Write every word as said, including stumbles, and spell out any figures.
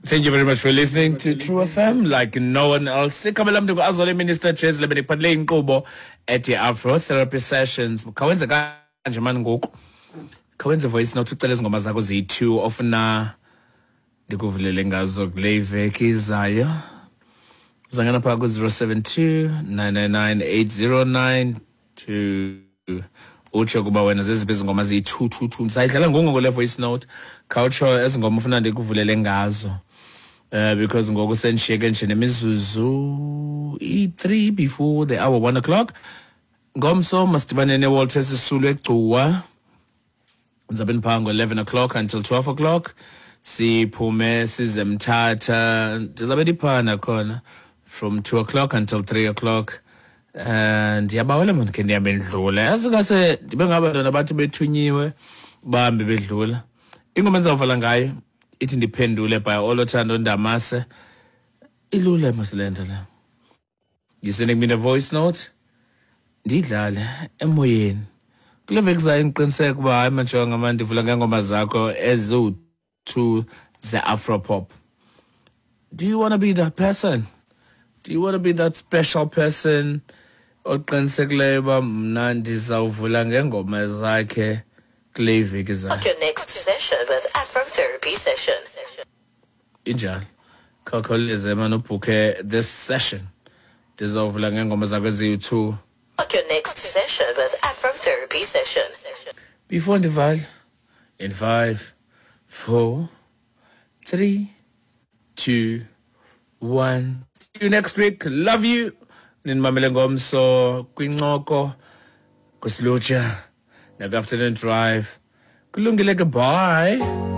Thank you very much for listening to True F M like no one else. Igama lam ndingu-Azole Minister Jezile, bendikuphathele inkqubo ethi Afro Therapy Sessions. Khawenze kanje mani ngoku. Khawenze voice note ucele ezi ngoma zakho ziyi-two ofuna ndikuvulele ngazo kule iveki izayo. Uzangena phaa ku-zero seven two, nine nine nine, eight zero nine two. Utsho kuba wena zeziphi ezi ngoma ziyi-two, two, two. Ndisayidlala ngoku ngoku le voice note. Khawutsho ezi ngoma ufuna ndikuvulele ngazo. Uh, because ngoku sendishiyeke nje nemizuzu i-three before the hour one o'clock. Ngomso masidibane neWalter Sisulu eGcuwa. Ndizabe ndiphaa ngo-eleven o'clock until twelve o'clock. Siphume size Mthatha. Ndizabe ndiphaa nakhona from two o'clock until three o'clock. Uh, ndiyabawela mani ke ndihambe ndidlule. Yazi ngase ndibe ngabantwana bathi bethunyiwe bahambe bedlula. Ingoma endizawuvala ngayo ithi ndiphendule by Olothando Ndamase. Ilula mos le nto le. You sending me the voice note? Ndiyidlale emoyeni. Kule veki zayo ngiqiniseke uba hayi majonga mani ndivula ngeengoma zakho eziwu-two ze-Afropop. Do you wanna be that person? Do you wanna be that special person oqinisekileyo uba mna ndizawuvula ngeengoma zakhe kule iveki zayo? Book your next session with Afro Therapy Session. Injalo. Khawukhawuleze mani ubhukhe this session. Ndizawuvula ngeengoma zakho eziyi-two. Book your next session with Afro Therapy Session. Before ndivale, in five, four, three, two, one. See you next week. Love you. Ninimamele ngomso kwincoko kwisilutsha naku-afternoon drive. Kulungile ke, bye.